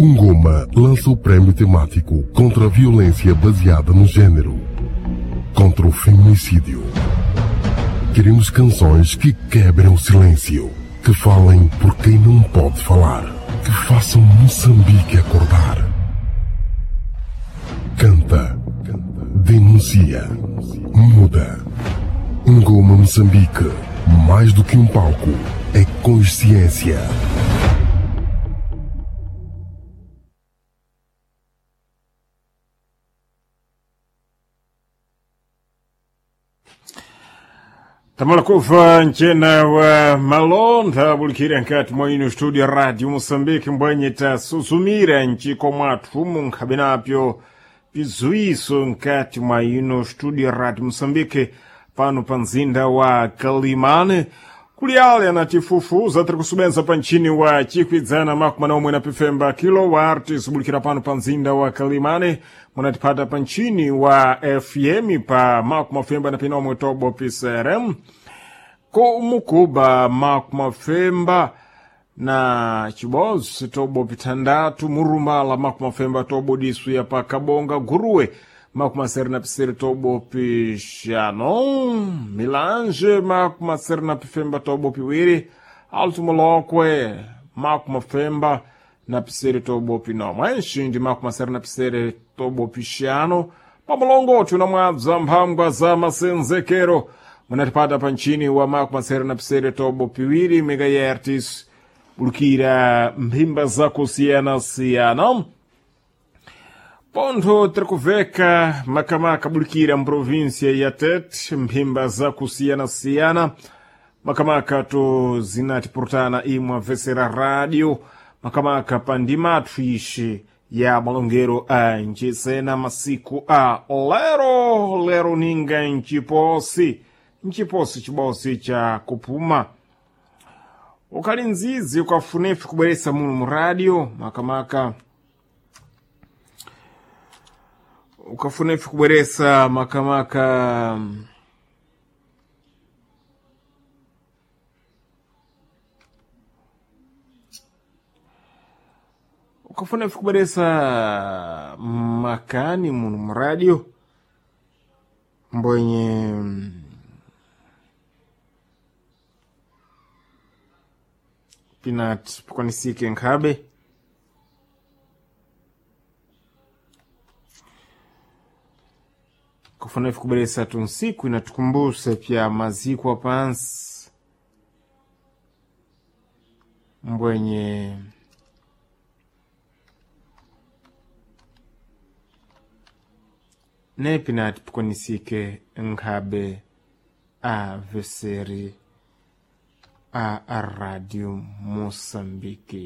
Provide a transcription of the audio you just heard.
Ngoma lança o prémio temático contra a violência baseada no gênero, contra o feminicídio. Queremos canções que quebrem o silêncio, que falem por quem não pode falar, que façam Moçambique acordar. Canta, denuncia, muda. Ngoma Moçambique, mais do que um palco, é consciência. Tamalakufa ncena wa malonda bulikira nkati mwa ino studio radio Moçambique mbwenye tasusumira nchiko mwathu munkhabenapyo pizuiso nkati mwa ino studio radio Moçambique pano pa mzinda wa Kalimane kuli ale anatifufuza tiri kusubenza pa nchini wa chikwidzana makumi omwe na pifemba kilowati subulikira pano pa mzinda wa Kalimane munatipata pa nchini wa FM pa makumi mafemba na pinomwe tobo PCRM kumukuba makumi mafemba na chibozi tobo pitandatu murumbala makumi mafemba tobo disu ya pa kabonga guruwe makumi masere na pisere tobo pixano milange makumi masere na pifemba tobo piwiri alto molokwe makumi mafemba na pisere tobo pinomwe nxindi makumi masere na pisere tobo pixano pamulongoti unamwabza mphangwa za masenzekero munatipata pa nchini wa makumi masere na pisere tobo piwiri megahertz bulukira mphimba zakusiyana-siyana pontho tirikuveka makamaka bulikira mprovinsia ya Tete mphimba zakusiyana-siyana makamaka to zinatipurutana imwe amvesera radio makamaka pandimathu ixi ya malongero a nchisena masiku a lero lero ninga nciposi nciposi cibosi cha kupuma ukali nzizi ukafunefi kubweresa muno mu radio makamaka ukafunefi kubweresa makamaka ukafunefi kubweresa makani muno mu radio mbwenye pinat pikwanisike nkhabe kufana ife kubweresa tunsiku inatukumbuse pya maziko apansi mbwenye nepinati pikwanisike nkhabe a veseri a Radio Moçambique.